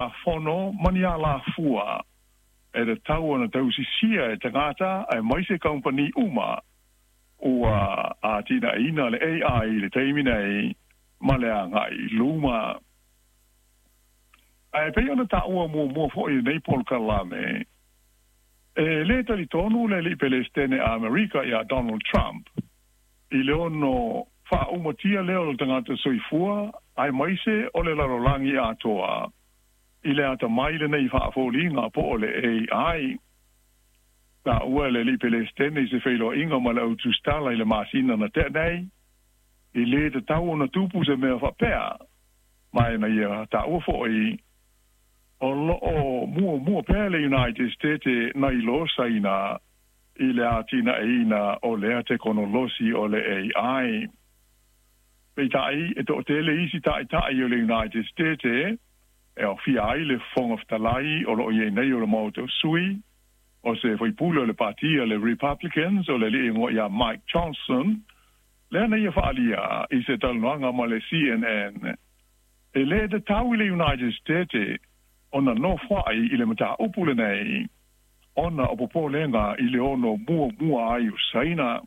Fono ma ni alafua e tatau ona tausisia e tagata aemaise kamupani uma ua atinaeina le AI i le taimi nei ma le agai i luma. Ae pei ona taua muamua foi i lenei polokalame, e lē talitonu le alii Pelesitene a Amerika iā Donald Trump i le ono faaʻumatia lea o le tagata soifua aemaise o le lalolagi atoa i le atamai lenei faafoliga po o le AI. Taua e le alii Pelesitene i se feiloaiga ma le autusitala i le masina na tea nei, e lē tatau ona tupu se mea faapea, ma e na ia taua foʻi o loo muamua pea le United States nai lo Saina i le atinaeina o lea tekonolosi o le AI. Peitai, e toatele isi taitai o le United States e aofia ai le Fofoga Fetalai o loo i ai nei o le Maota o Sui, o se faipule o le Patia le Republicans o le alii igoa ia Mike Johnson, lea na ia faaalia i se talanoaga ma le CNN, e lē tatau i le United States ona nofoaʻi i le mataupu lenei ona o popolega i le ono muamua ai o Saina.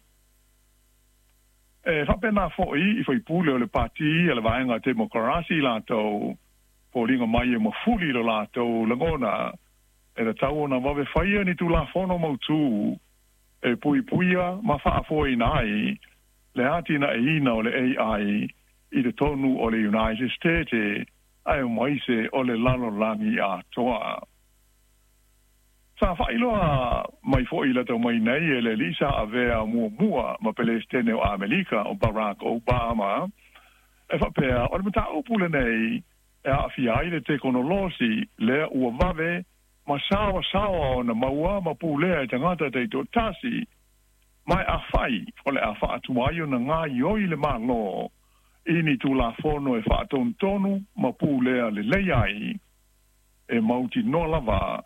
E faapena foʻi i faipule o le Pati a le Vaega Temokarasi latou foliga mai e mafuli i lo latou lagona e tatau ona vave faia ni Tulafono mautū e puipuia ma faafoeina ai le atinaeina o le AI i totonu o le United States aemaise o le lalolagi atoa. Sa faailoa mai foʻi i lata mai nei e le alii sa avea muamua ma Pelesitene o Amelika o Barack Obama e faapea o le mataupu lenei e aafia ai le tekonolosi lea ua vave ma saoasaoa ona maua ma pulea e tagata taitoatasi, ma e afai o le a faatuai ona gaoioi le Malo i ni Tulafono e faatonutonu ma pulea lelei ai, e mautinoa lava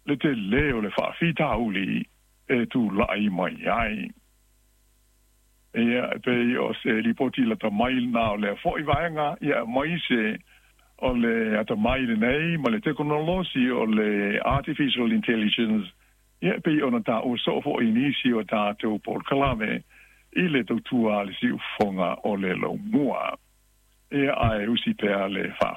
le telē o le faafitauli e tulaʻi mai ai. Ia, e pei o se lipoti lata mai lena o lea foʻi vaega, ia aemaise o le atamai lenei ma le tekonolosi o le artificial intelligence, ia e pei ona taua soo foʻi i nisi o tatou polokalame i le tautua a le siufofoga o le laumua. Ia, ae usi pea le faa.